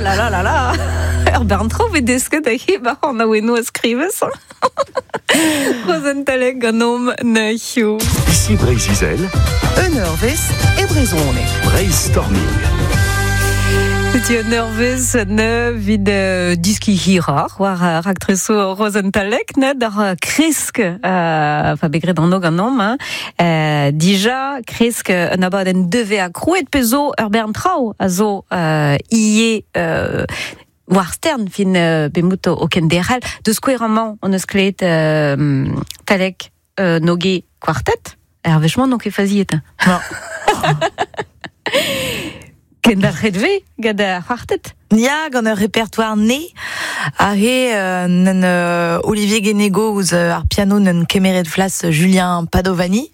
la la la la Ur bern tro bet desket a he ba an aouenno a skrivez. Rozenn Talek ganeomp neuhioù. Ici Breizh-Izel. Un eurvezh e brezhoneg. Breizh-Storming. Setu un eurvezh ne vit diski hiroc'h war raktresoù Rozenn Talek ne d'ar kresk fa bet graet anv ganeomp hein. Dija kresk un abadenn devez a krouet pe zo ur bern traoù a zo ie war stern fin bemout o kenderc'hel. Deus skouer amañ on eus klevet Talek Noge Quartet. Er wech-mañ n'on ket faziet. Non. Kenderc'het ve gant ar c'hwartet. Ya, gant ur répertoire né a he nen Olivier Guénégo ouzh ar piano nen kemeret flas Julien Padovani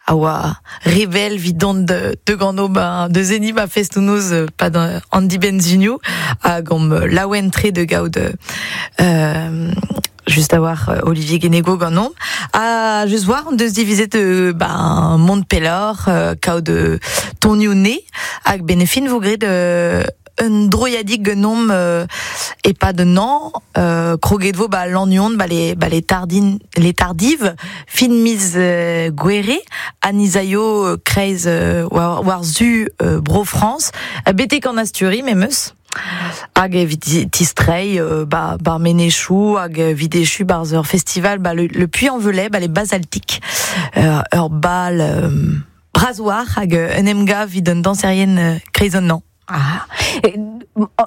a oa rebel 'vit dont de gano ba de zeni ba festoù-noz pad an dibenn-zunioù hag omp laouen-tre de gaout just a war Olivier Guénégo ganeomp. Ha just war on deus divizet ben mont pelloc'h kaout tonioù né hag benefin vo graet un droiadig ganeomp e-pad un an kroget vo ba Lannion ba les ba les tardin les tardives fin miz Gouere ha nizaio kreiz war war zu Bro France betek an Asturie memes. Hag evit tistreiñ ba bar Menechou hag evit echu barzh ur festival ba le, le Puy-en-Velay ba les Basaltiques ur bal bras-war hag un emgav evit un danserien kreiz an an. Ah.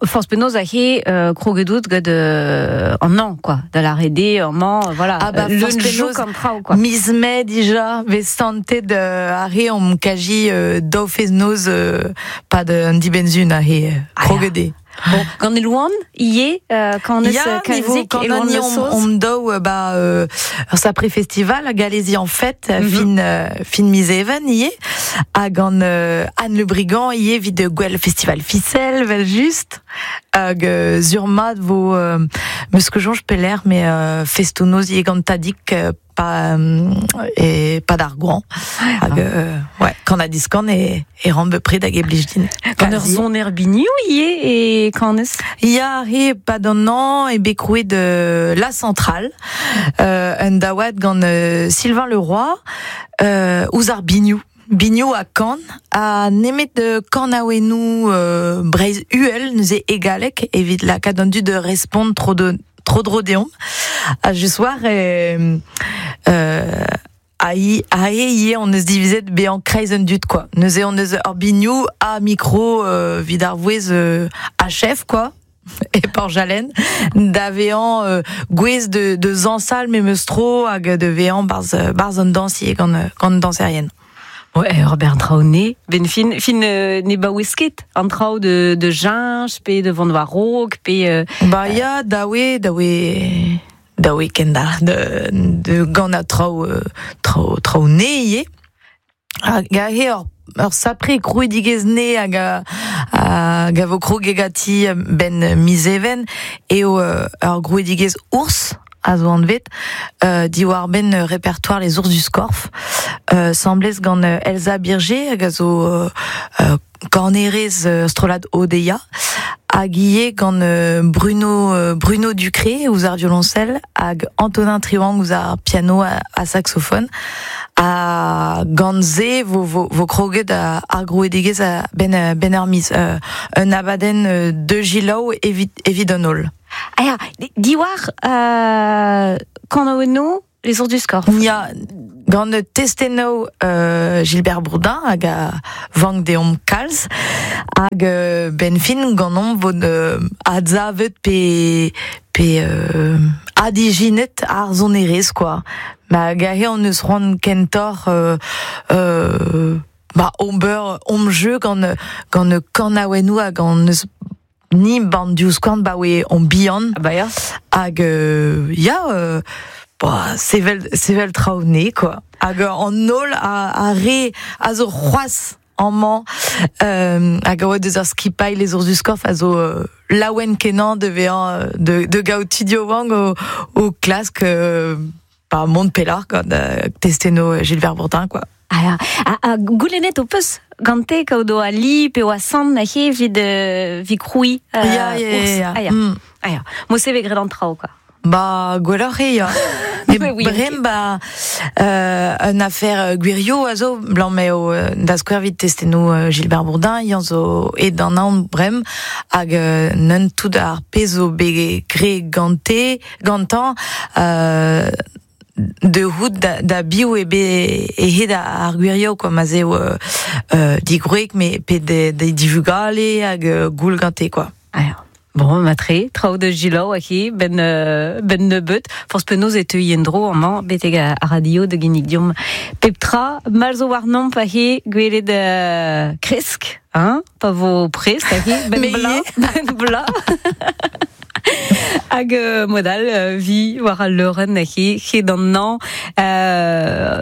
Forzh penaos a he kroget out gant an an, quoi. Da lâret eo amañ, voilà. Ah bah, leun forzh penaos, jouk an traoù, quoi. Miz Mae dija, vez santet ar re omp kaji daou fest-noz pad an dibenn-sun a he kroget eo. Bon, gant Elouan, ivez, quand eus Ya, niveau kalzik, quand Elouan on Le on, Sauce. on daou ba ur sapre festival a Galezi en fête fin miz Even ivez hag gant Anne Le Brigand ivez evit gwell festival Ficelle vel just hag sur mat vo meus ket soñj pelec'h mais festoù-noz ivez gant Tadig pa e pad ar goañv hag ouais kan ha diskan e e ran bepred hag e blij din. Gant ur soner binioù ivez e kanez. Ya, he pad an an e bet krouet La Centrale un daouad gant Sylvain Leroy ouzh ar binioù. Binioù ha kan ha nemet kanaouennoù Breizh uhel neuze e galleg evit lakaat an dud da respont tro de tro dro deomp. Ha just war a i a e ivez on eus divizet bezañ kreiz an dud quoi. Neuze on eus ur binioù ha micro evit ar vouezh a chef quoi. E Porjalen da vezañ gouez de zañsal memes tro hag de vezañ barzh barzh an dañs ivez gant gant dañserien. Ouais, Robert Traoné, ben fin fin ne baouez ket an traoù de Ginge pe de Van Warok pe Ba ya dawe dawe dawe kendalc'h de gant a traoù traoù traoù ne ivez. Hag aze ur sapre krouidigezh ne hag a hag a vo kroget ganti ben miz Even eo ur grouidigezh ours a zo anvet diwar-benn répertoire les ours du Scorff semblez gant Elsa Birger hag a zo kornerez strollad Odeia hag ivez gant Bruno Bruno Ducré ouzh ar violoncelle hag Antonin Triwang ouzh ar piano ha saxophone ha gant se vo vo vo kroget ar grouidigezh a ben ben ur miz un abadenn de gilaou evit evit an holl. Ah ya, diwar kanaouennoù les ours du Scorff. Ya, gant testennoù Gilbert Bourdin hag a vank deomp kalz hag ben fin ganeomp vo adsavet pe pe adijinet ar sonerezh quoi. Ma hag aze on eus c'hoant kentoc'h ba ober omp jeu gant gant kanaouennoù hag on eus ni ban diouzhskouarn ba oe on bihan. Ah bah ya. Hag ya ba, sevel sevel traoù ne quoi. Hag an holl a re a zo c'hoazh amañ hag a oa deus ar skipailh les ours du Scorff a zo laouen kenañ de vezañ de gaout tud yaouank o klask ba mont pelloc'h gant testennoù Gilbert Bourdin quoi. Ah ya, ha goulennet ho peus gante kaout o ali pe o asant a he vid vi kroui. Ya, ya, ya. Ah, ya. Ah, ya. Mo se ve gret an trao, quoi. Ba, gwelloc'h eo, ya. Me brem ba un affaire gwirioù a zo, blanc meo da skouer vit testennoù Gilbert Bourdin, yan zo e d'an an brem, hag neun tout ar pezh zo bet gre gante, gantan, de hout da biou e be e hed ar gwirioù, quoi, ma zeo digroek, me pe de divugale hag goul gante, quoi. Ah, ya. Bon, matre, traoù de gilaou a ben nebeut, forz penaos e teu endro amañ betek a radio de ginnig diom pep tra, mal zo war nomp a he gwelet kresk, hein, pa vo prest a he, ben bla, ben bla. Hag modal vi war al leurenn a he, he d'an nan,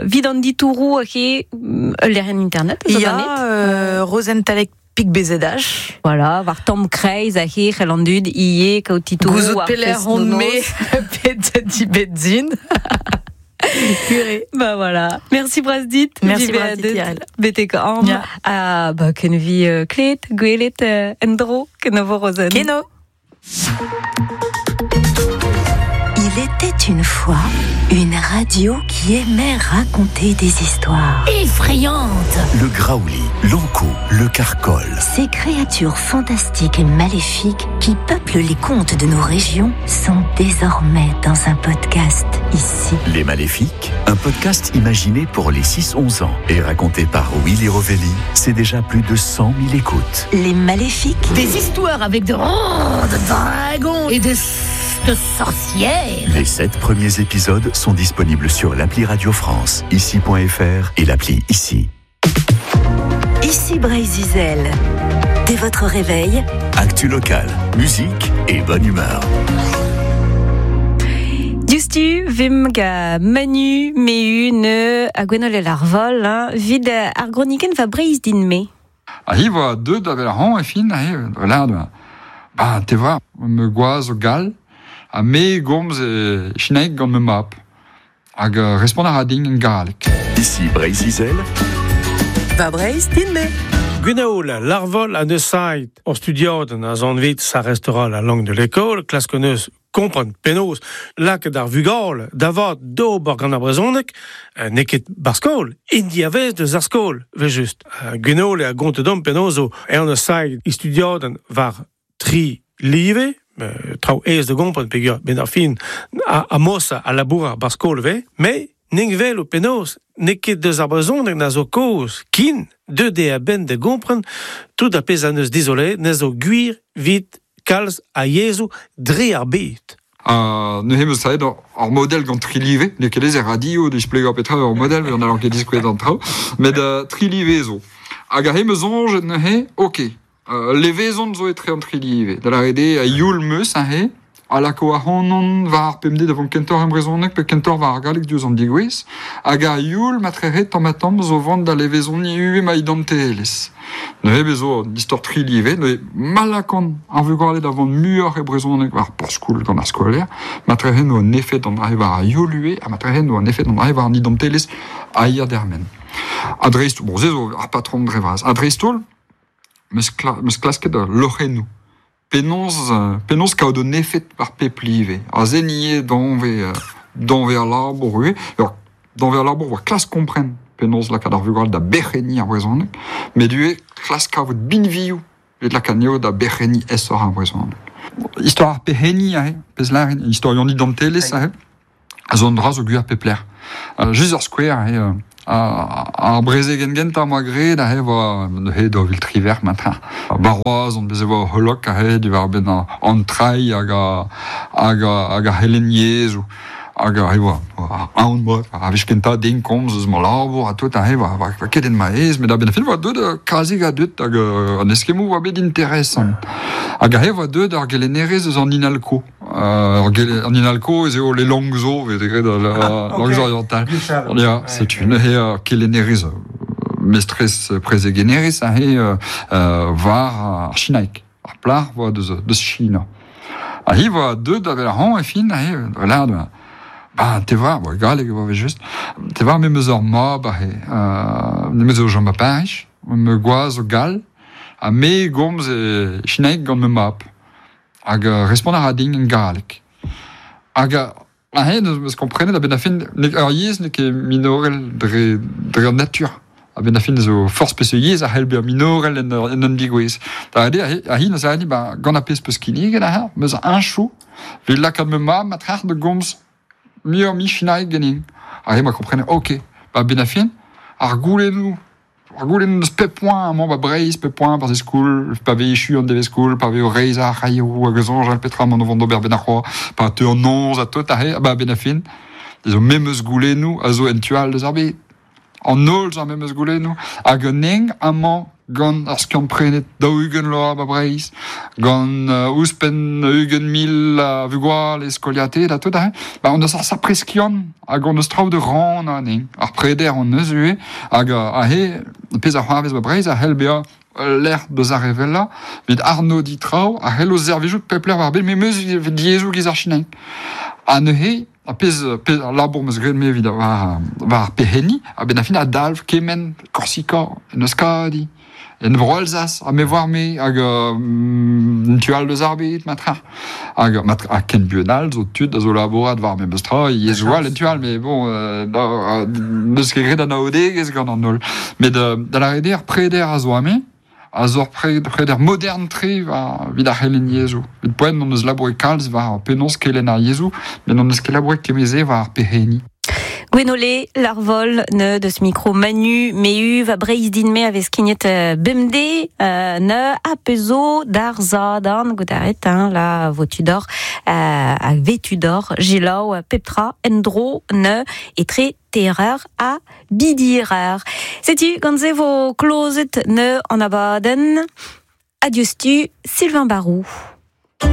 vi d'an ditourou a he, lec'hienn internet, zo Ya, Rozenn Talec Pik BZH. Voilà, war tamm kreiz a he c'hell an dud ie kaout titourou Gouzout peler on me pet di bedzin. Bah voilà. Merci Brasdit. Merci Brasdit. Betek am. Ah bah ken vi klet, gwelet endro, kenovo Rozenn. Keno. Il était une fois une radio qui aimait raconter des histoires effrayantes. Le Graouli, l'Anco, le Carcol. Ces créatures fantastiques et maléfiques qui peuplent les contes de nos régions sont désormais dans un podcast ici. Les Maléfiques, un podcast imaginé pour les 6-11 ans et raconté par Willy Rovelli, c'est déjà plus de 100 000 écoutes. Les Maléfiques. Des histoires avec de dragons et de sorcières. Les 7 premiers épisodes sont disponibles sur l'appli Radio France, ici.fr et l'appli Ici. Ici Breizh-Izel. Dès votre réveil, actu local, musique et bonne humeur. Diouzhtu vim ga Manu Mehu ne a Gwenole Larvol, hein, vid ar groniken va Breizh din me. A hi voa deud avel ar hañ e fin, a hi, lard, ba, te voa, me gwaz o gal, a me gomz e chinaeg gant me map. Hag respond a ra din en galleg. Ici Breizh-Izel. Va Breizh din me. Gwenoul, l'arvol a neus sait o studiaden a zan vit, ça restera la langue de l'école, klask neus kompren penaos lakaet ar vugale davat d'ober gant ar brezhoneg, n'eo ket bar skol, int diavez deus ar skol, ve just. Gwenoul a gont dom penaos o en neus sait i studiaden war tri live, traoù aes de gompren peogwir ben ar fin a mosa a labour ar skol ve, me ning vel o penaos n'eo ket deus ar brezhoneg na zo kaoz kin deut eo a-benn da gompren tout ar pezh a neus dizole ne zo gwir vit kalz a yezhoù dre ar bed. Neuze meus savet ar model gant tri live, n'eo ket ez e radio displegañ petra ur model, an alor ket diskouez an traoù, met tri live zo. Hag a he meus soñj neuze, ok, levezon zo etre an tri live. Da lâret eo a youl meus a he, a lako ac'hanon war ar pemdez da vont kentoc'h en brezhoneg pe kentoc'h war ar galleg diouzh an degouezh, hag a youl matrehe tamm ha tamm zo vont da levezoniñ ivez ma identelezh. Neuze bez zo an istor tri live, neuze malakon ar vugale da vont muioc'h e brezhoneg war porzh-skoul gant ar skolaer, matrehe no an efed an dra war ar youl ivez, ha matrehe no an efed an dra war an identelezh a hir dermen. Ha dreist, bon, se zo ar patron dre vras, ha dreist-holl, meus klasket loc'hennoù. Penaos kaout un efed war pep live. A se nie danve ar labour ivez. Alors, danve ar labour war klask kompren penaos lakaat ar vugale da berc'henniñ ar brezhoneg, met ivez klask kavout binvioù evit lakaat anezho da berc'henniñ aesoc'h ar brezhoneg. Istor ar perc'henniñ aze, pezh lârin, istor an identelezh aze, a zo an dra zo gwir pep lec'h. Just ur skouer aze, ar brezegenn gentañ moa graet aze voa neuze daou vil triwec'h matin. Baroaz on bez e voa holok aze diwar-benn an trai hag ar c'helenn yezhoù. Hag aze voa aon moa, a wech kentañ den komz eus ma labour ha tout aze voa ket en ma aez, met a-benn ar fin voa deut kazik a deut hag an eskemmoù voa bet interesant. Hag aze voa deut ar gelennerez eus an Inalco. An Inalco ez eo le langues zo, vet graet langues orientales. Ya, setu neuze kelennerez mestrez prezegennerez aze war ar chinaeg. Ar plac'h voa deus China. Ha hi voa deut avel ar hañv e fin aze, lard, ba, te voa, bo, galleg e voa just, te voa me meus ur mab aze, me meus o chom a Paris, Me gwaz o gal, ha me gomz e chinaeg gant me map. Hag respont a ra din en galleg. Hag a hen eus komprenet a ben a fin, ur yezh n'eo ket minorel dre an natur. A ben a fin zo forz peseurt yezh a c'hell bezañ minorel en un digouez. Da a hin eus a ba gant a pezh peus kinniget a meus un chou, evit lakaat me mab ma trac'h de gomz muioc'h mi chinaeg ganin. Hag ma komprenet, ok, ba ben a fin, ar goulennoù eus pep poent amañ ba Breizh, pep poent par skoul, pa vez echu an devez skoul, pa vez o reizh ar c'hailhoù hag eus anjal petra m'an o vont d'ober ben ar c'hoa, pa teu an noz a tot ahe, ba ben a fin, zo memeus goulennoù a zo en tual deus ar bed. An holl zo ar memeus goulennoù, hag un eng amañ gant ar skiant prenet 40 loa ba Breizh, gant ouzhpenn 20,000 a vugale skoliated ha tout ahe, ba on eus ar sapreskiant hag on eus traoù de ran an eng. Ar preder on eus ue, hag ahe, pezh ar c'hoarvez ba Breizh a c'hell bezañ lec'h deus ar revella, evit arnodiñ traoù a c'hell o servijout pep lec'h war bed, memeus evit diaezoù giz ar chinaeg. Ha neuze, a pezh ar labour meus graet me evit war ar peheni, a ben a fin a dalv kement Korsika, en Euskadi, en Bro-Alsace, ha me voar me, hag un tual deus ar bed, matra. Hag a ken buan all zo tud a zo labourat war memes tra, yezhoù all en tual, mais bon, n'eus ket graet an aodegezh gant an holl. Met da lâret eo ar preder a zo ame, a zo ar preder modern-tre war evit ar c'helenn yezhoù. Evit poent on eus labouret kalz war penaos kelenn ar yezhoù, met on eus ket labouret kement-se war ar peheni. Gwenole, Larvol, ne deus micro Manu, Mehu, va Breizh din me a vez skignet bemdez, ne a pezo d'ar zadan, goutaret, hein, la votudor, a vetudor, jilaou, peptra, endro, ne, etre terreur a bidirer. Setu, gant se vo klozet ne an abadenn. Adieu stu, Sylvain Barou.